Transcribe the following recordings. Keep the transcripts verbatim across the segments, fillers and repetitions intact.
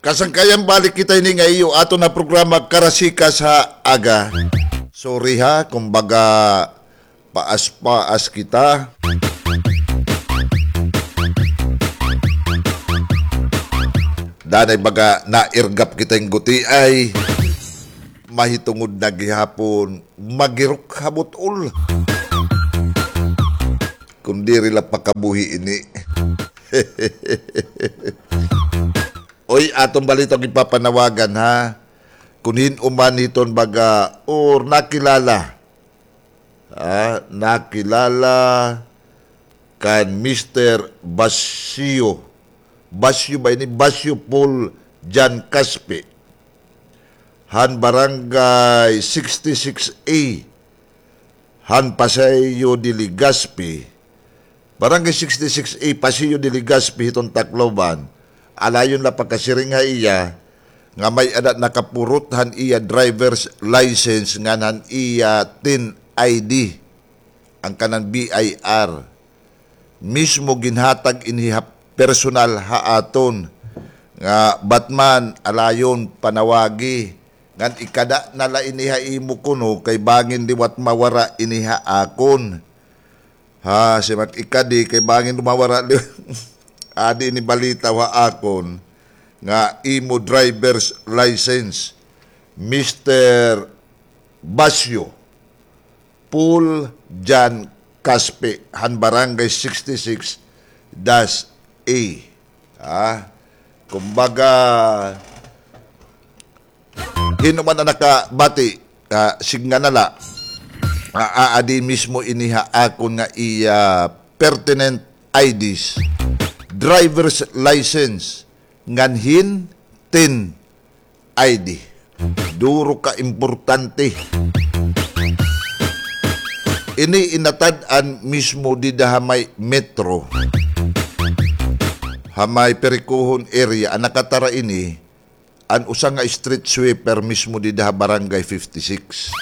Kasangkayan, balik kita ini nga iyo aton nga programa, Karasikas ha Aga. Sorry ha, kumbaga, paas-paas kita. Danay baga nairgap kita hin gutiay. Mahitungod na gihapon, magirok ha but-ol. Kun diri la pakabuhi ini. Oy, aton bali ito ipapanawagan, ha? Kun hin-o man hiton baga, or nakilala. Ha? Nakilala kan Mister Basyo. Basyo ba ini? Basyo Paul Jan Caspi. Han Barangay sixty-six A. Han Paseo de Legazpi, Barangay sixty-six A, Paseo de Legazpi, hiton Tacloban. Alayon la pakasiring ha iya nga may-ada nakapurot han iya driver's license ngan han iya tin I D, an kanan B I R. Mismo ginhatag ini ha personal ha aton nga batman, alayon, panawagi. Ngan ikada na la ini ha imo kuno kay bangin liwat mawara ini ha akon. Ha, siring ak ikadi kay bangin mawara li-, adi ini balita ha akon nga imo driver's license, Mister Basyo Paul Jan Caspi, han Barangay sixty-six dash A. Ha? Kumbaga, hin-o man an nakabati, ah, sidnga na la. Ah, aadi mismo ini ha akon nga iya pertinent I Ds, driver's license, ngan hin tin I D. Duro ka importante. Ini inatad-an mismo dida ha may Metro, ha may Perikuhon area, an nakatara ini, an usa nga street sweeper mismo dida ha Barangay fifty-six.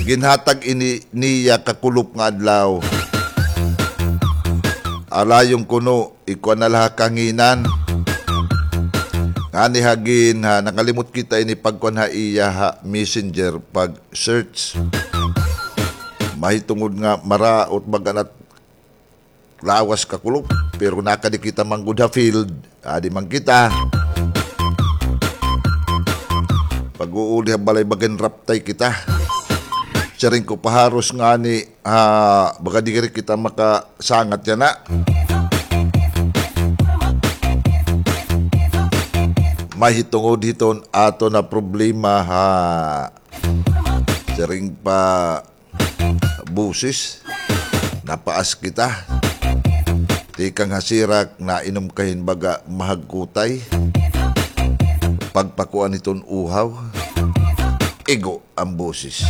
Ginhatag ini niya kakulop nga adlaw. Alayon kuno, ikuan na la ha kahanginan. Ngani ha gin-, ha, nakalimot kita ini pagkuan ha iya ha Messenger, pag-search. Mahitungod nga maraot baga na lawas kakulop, pero nakadi kita man gud ha field, adi man kita. Pag-uuli ha balay, baga ginraptay kita. Siring ko pa haros ngani, ha, baga diri kita makasangat yana. Mahitungod hiton aton nga problema, ha. Siring pa boses, napaas kita. Tikang ha sirak, nainom ka hin baga mahagkutay. Pagpakuan hiton uhaw, igo an boses.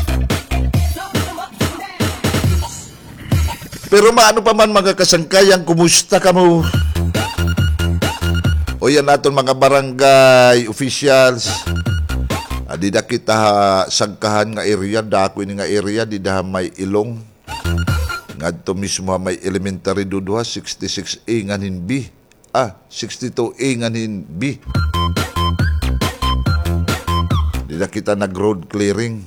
Pero maano pa man, mga kasangkayan, kumusta kamo? Uy, an aton mga barangay officials, ah, dida kita ha Sagkahan nga area, dako ini nga area, dida ha may Ilong. Ngadto mismo ha may elementary duduha, sixty-six A ngan hin B. Ah, sixty-two A ngan hin B. Dida kita nag-road clearing.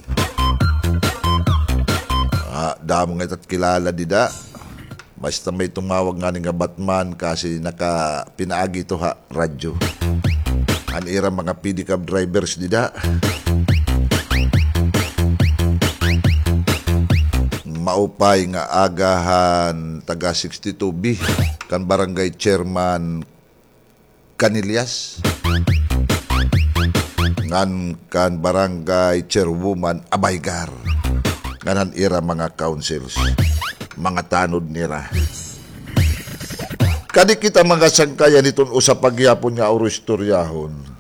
Ah, damo nga ita't kilala dida. Basta may tumawag ngani nga batman kasi naka-, pinaagi ito ha radyo. An ira mga pedicab drivers dida. Maupay nga aga han taga sixty-two B, kan barangay chairman Canillas, ngan kan barangay chairwoman Abaygar, ngan han ira mga councils, mga tanod nira. Kadi kita mga sangkayan hiton usa pa gihapon nga uro-istoryahon.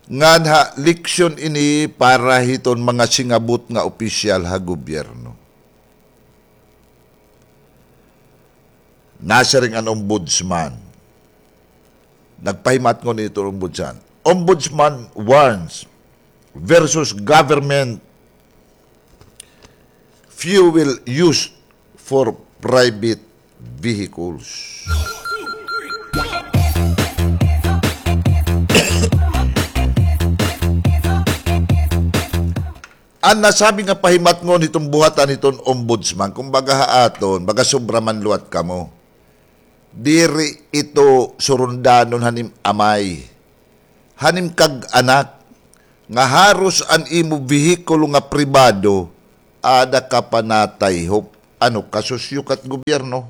Ngan ha, leksyon ini para hiton mga singabot nga opisyal ha gobyerno. Nasiring an ombudsman. Nagpahimatngon ito ombudsman. Ombudsman warns versus government fuel used for private vehicles. An nasabi nga pahimatngon hiton buhatan hiton ombudsman, kumbaga ha aton, baga sobra man liwat kamo. Diri ito surundanon han im amay, han im kag-anak, nga haros an imo behikulo nga pribado, ada ka pa natayhop. Ano, kasusyo ka hit gobyerno?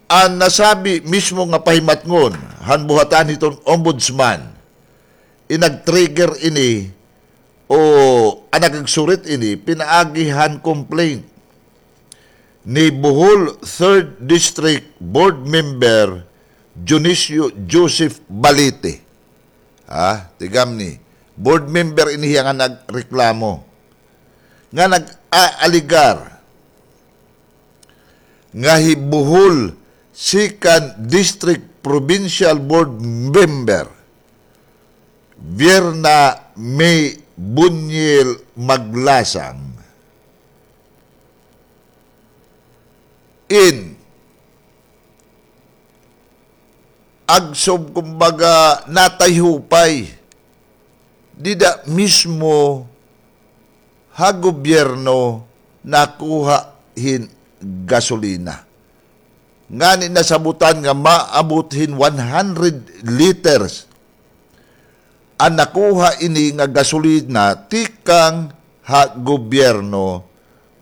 An nasabi mismo nga pahimatngon han buhatan hiton ombudsman, in nag-trigger ini o an nagsurit ini pinaagi han complaint ni Bohol Third District Board Member Dionisio Joseph Balite. Ha, tigam ni, board member ini hiya nga nagreklamo, nga nag-aaligar nga hi Bohol Second District Provincial Board Member Vierna May Buñil Maglasang in agsob, kumbaga, natayhupay dida mismo ha gobyerno nakuha hin gasolina. Ngani nasabutan nga maabot hin one hundred liters an nakuha ini nga gasolina tikang ha gobyerno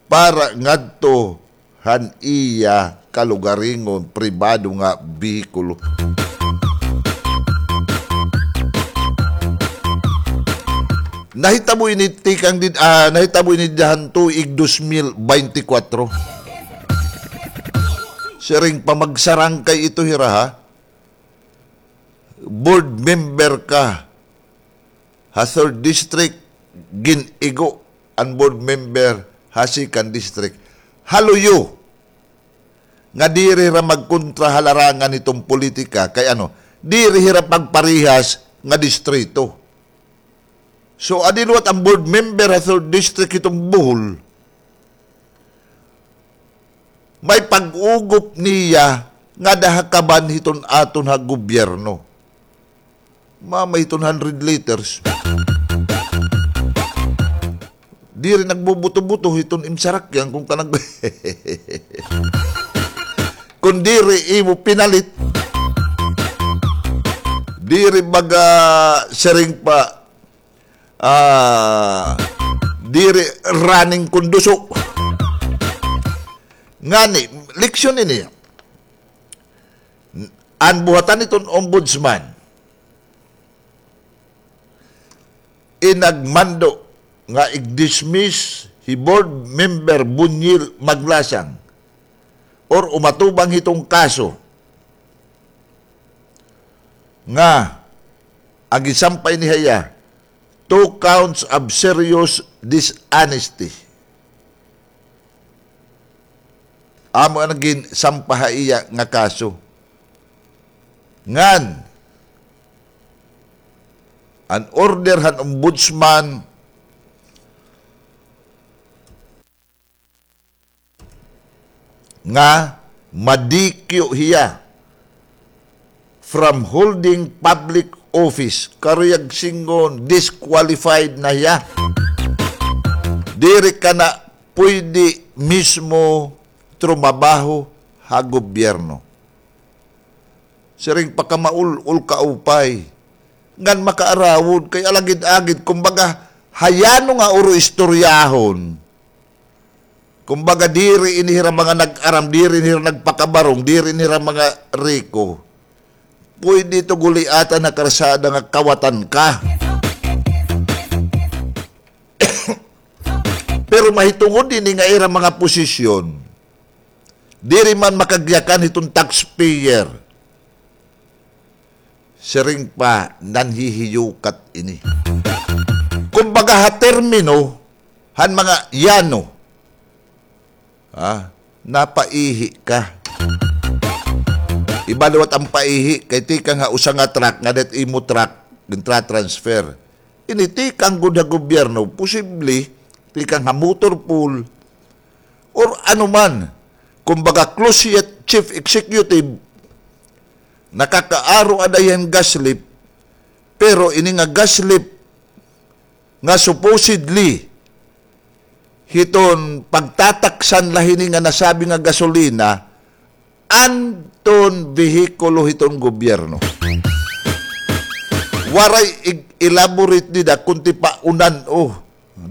para ngadto han iya kalugaringon pribado nga behikulo. Nahitabo ini tikang did-, ah, nahitabo ini dida han tuig dos mil baynte kwatro. Siring pa, magsarangkay ito hira, ha? Board member ka ha third district, gin-igo an board member ha second district. Haluyo nga diri hira magkontra ha larangan hiton politika, kay ano, diri hira pagparehas nga distrito. So, adi liwat an board member ha third district hiton Bohol, may pag-ugop niya ngada ha kaban hiton aton ha gobyerno. Mama, hiton hundred liters. Diri nagbubuto-buto hiton im sarakyan kon kanang, kon diri imo pinalit. Diri baga siring pa, ah, diri running kon duso. Ngani, leksyon ini. An buhatan hiton ombudsman, in nagmando nga ig-dismiss hi board member Buñil Maglasang or umatubang hiton kaso nga an ginsampay ini ha iya, two counts of serious dishonesty. Amo an ginsampa ha iya nga kaso. Ngan an order han ombudsman nga madikyo hiya from holding public office, karuyag sidngon disqualified na hiya. Diri ka na puyde mismo trumabaho ha gobyerno. Siring pa, kamaul-ol kaupay. Ngan makaarawod kay alagid-agid, kumbaga, ha yano nga uro istoryahon. Kumbaga, diri ini hira mga nag-aram, diri ini hira nagpakabarong, diri ini hira mga riko. Puyde ito guliatan ha karsada nga kawatan ka. Pero mahitungod ini nga ira mga posisyon, diri man makagyakan hiton taxpayer. Siring pa, nanhihiyukat ini. Kumbaga, ha termino han mga yano, ha, napaihi ka. Iba liwat an paihi kay tikang ha usa nga truck, ngada hit imo truck, gintra-transfer. Ini tikang gud ha gobyerno, posible tikang ha motor pool, or ano man, kumbaga, close hit chief executive, Nakakaaro ada hiya hin gas lip, pero ini nga gas lip nga supposedly hiton pagtataksan la hini nga nasabi nga gasolina, anton behikulo hiton gobyerno. Waray ig-, elaborate dida kun tipaunan, o.